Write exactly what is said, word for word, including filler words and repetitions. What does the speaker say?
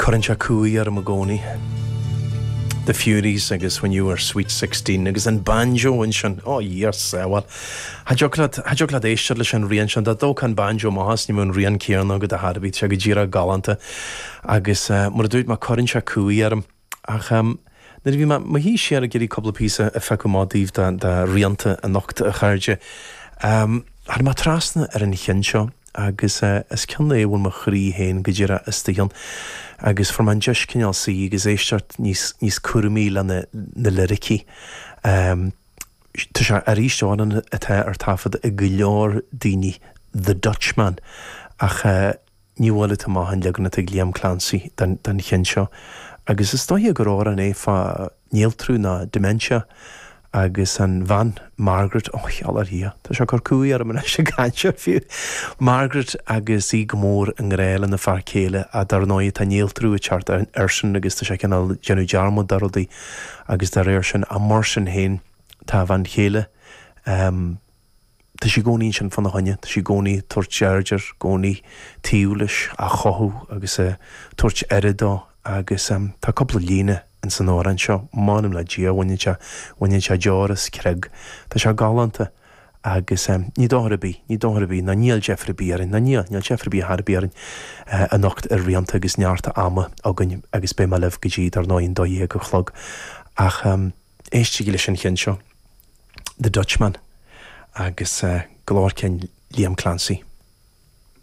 Cuireann sé cumhaidh orm i gcónaí. The Furies agus When You Were Sweet Sixteen agus an banjo ansin ó yes well cha dtiocfadh leat éisteacht leis an rian sin dá dtógfá an banjo amach as ní bheadh an rian céanna agat ar chor ar bith sé go díreach galánta agus uh, mar a dúirt mé cuireann sé cumhaidh orm ach um, nuair a bhí mé mo shuí siar ag iarraidh cúpla píosa a phiocadh amach daoibh de rianta anocht a chairde. Um, Tháinig mé trasna ar an cheann seo agus uh, is ceann é bhfuil mo chroí féin go díreach istigh ann agus fuair mé an deis cineál suí agus éisteacht níos, níos cúramaí le na, na liricí. Um, Tá sé arís amhrán atá ar taifead ag go leor daoine The Dutchman ach uh, ní bhfuil amach an leagan atá ag Liam Clancy den, den cheann seo. Agus is dóiche gur amhrán é fá néaltrú ná dementia agus an bhean Margaret ó cheal Tá sé cur cumhaidh orm anois ag caint air fiú. Margaret agus í go mór i ngrá lena fear céile a dar ndóigh tá néaltrú ag teacht airsean agus tá sé cineál déanamh dearmad de rudaí agus dá réir sin a mar sin féin tá bhean chéile. Um, Tá sí i gcónaí ansin fána choinne, Tá sí i gcónaí tabhairt aird air i gcónaí taobh leis á chothú agus uh, tabhairt aire dó agus um, tá cúpla líne in san amhrán seo m'anam le Dia bhaineann sé bhaineann sé deora as creag Tá sé galánta agus um, ní dochar ar bith, ní dochar ar bith ná níl deifir ar bith orainn, ná níl níl deifir ar bith ar bith orainn uh, anocht ar rianta agus neart ama againn agus beidh mé libh go dtí dar ndóigh an dó dhéag a chlog ach um, éistigí leis an cheann seo The Dutchman agus uh, glór cinn Liam Clancy.